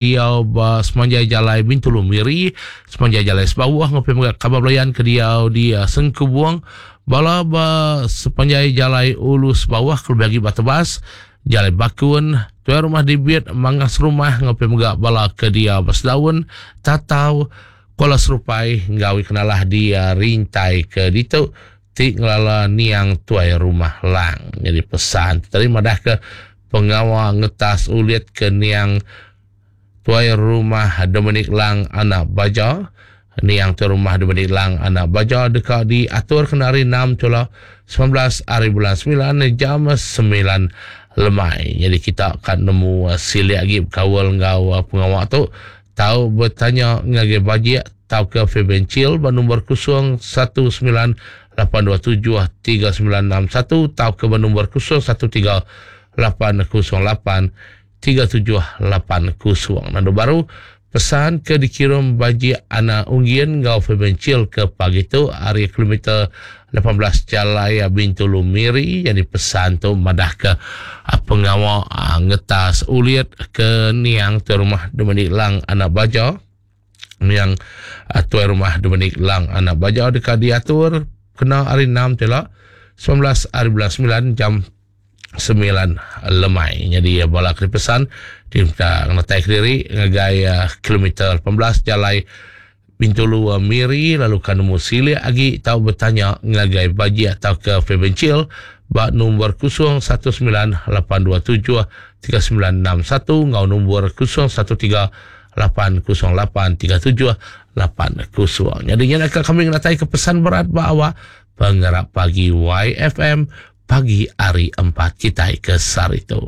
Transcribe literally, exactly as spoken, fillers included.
Diau ba semanjai jalai Bintulu Miri, semanjai jalai Sebauh enggau mega kaban belayan ke diau di Sengkubong, bala ba sepanjai jalai Ulu Sebauh kelebih agi ba Tebas, Jalai Bakun, Tuai Rumah Dibit, Mangas Rumah enggau mega bala ke diau ba Sedaun, Tatau, Kuala Serupai enggau kenalah di Rintai ke ditu ti ngelala niang Tuai Rumah Lang. Jadi pesan tadi madah ke pengawa ngetas ulit ke niang Tuai Rumah Dominic Lang anak Baja, niang Tuai Rumah Dominic Lang anak Baja deka diatur kena hari enam tula semilan belas hari bulan semilan jam semilan lemai. Jadi kita akan nemu silik lagi berkaul enggau pengawa tu, tau bertanya ngagai Bajik tau ke Fabian Chill ba nombor kosong satu sembilan lapan dua tujuh tiga sembilan enam satu tau ke ba nombor kosong satu tiga lapan kosong lapan tiga tujuh lapan kosong. Nandu baru pesan ke dikirim Bajik anak Unggin ngau Fabian Chill ke pagi tu hari kilometer lapan belas Jalai Bintulu Miri. Jadi pesan tu madah ke pengawa ngetas ulit ke niang tuai rumah Dominic Lang anak Baja. Niang tuai rumah Dominic Lang anak Baja dekat diatur kena hari enam tela sembilan belas hari bulan sembilan jam sembilan lemai. Jadi bala kena pesan diminta ngetai kediri ngagai uh, kilometer lapan belas Jalai Bintulu uh, Miri, lalu kan nemu silik lagi tau bertanya ngagai Bajik atau ke Fabian Chill ba nombor kosong satu sembilan lapan dua tujuh tiga sembilan enam satu ngau nombor kosong satu tiga lapan kosong lapan tiga tujuh lapan kosong. Jadi nya nak kami ngetai ke pesan berat ba awak Pengerak Pagi Y F M pagi hari empat kita ke sari tu.